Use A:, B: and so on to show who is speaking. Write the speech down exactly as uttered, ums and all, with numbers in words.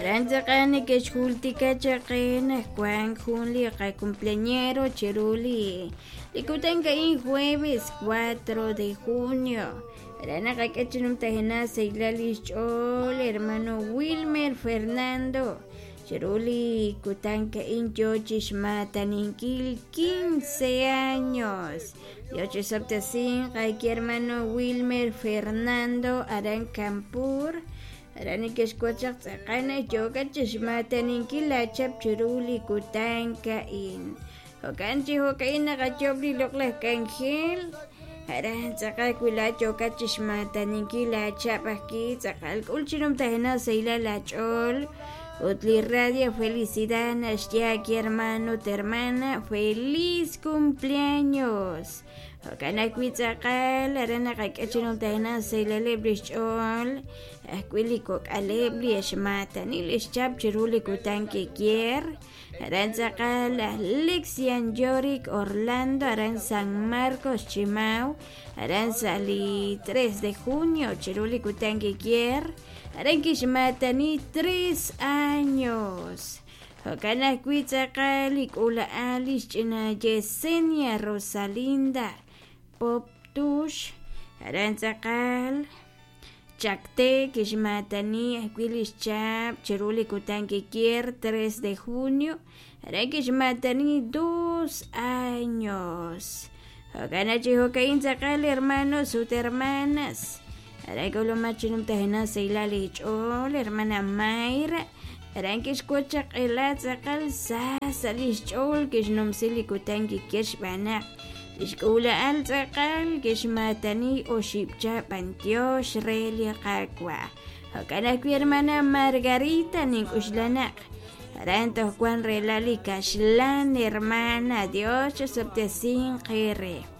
A: Aran tz'aqal neke'xjultika chaq qe naq wank jun li qacumpleañero chiru li li kutan a'in jueves cuatro de junio aran naqak'e chi numtajenaq sahilal li xch'ool hermano Wilmer Fernando chiru li kutan a'in yoo chi xmaataninkil quince años Dios chisob'tesinq ayki hermano Wilmer Fernando aran Campur aran neke'xwotz chaq tz'aqal naq yookat chi xmaataninkil laachap chiru li kutan a'in jo'kan chi jo'ka'in naqayob' li loq'laj k'anjel aran tz'aqal wi laat yookat chi xmaataninkil laachap ajki tz'aqal k'ul chi numtajenaq sahilal laach'ool ut li Radio Felicidad naxye aki hermano ut hermana feliz cumpleaños jo'kan ajwi' tz'aqal aran naqak'e chi numtajenaq sahilaleb' li xch'ool ajwi' li kok'aleb' li xmaatani li xchap chiru li kutan kikier aran tz'aqal laj Lexian Yorick Orlando aran San Marcos Chimau aran sa' li tres de junio chiru li kutan kikier aran kixmaatani tres años jo'kan ajwi' tz'aqal li k'uula'al li xch'ina Yesenia Rosalinda Pop Tux aran tz'aqal Chacte kixmaatani ajwi' li xchap chiru li kutan kikier tres de junio aran kixmaatani dos años jo'kan chi jo'ka'in tz'aqal hermanos ut hermanas aran k'ulumat chi numtajenaq sahilal li xch'ool hermana Mayra aran kixwotz chaq q'ela tz'aqal sa sa' li xch'ool kixnumsi li kutan kikier xb'aan naq lix k'uula'al tz'aqal kixmaatani oxib' chab' b'antiox re li Qaawa' jo'kan ajwi' hermana Margarita nink'uxla naq aran toj wan rela li kaxlan hermana Dios chisob'tesinq eere.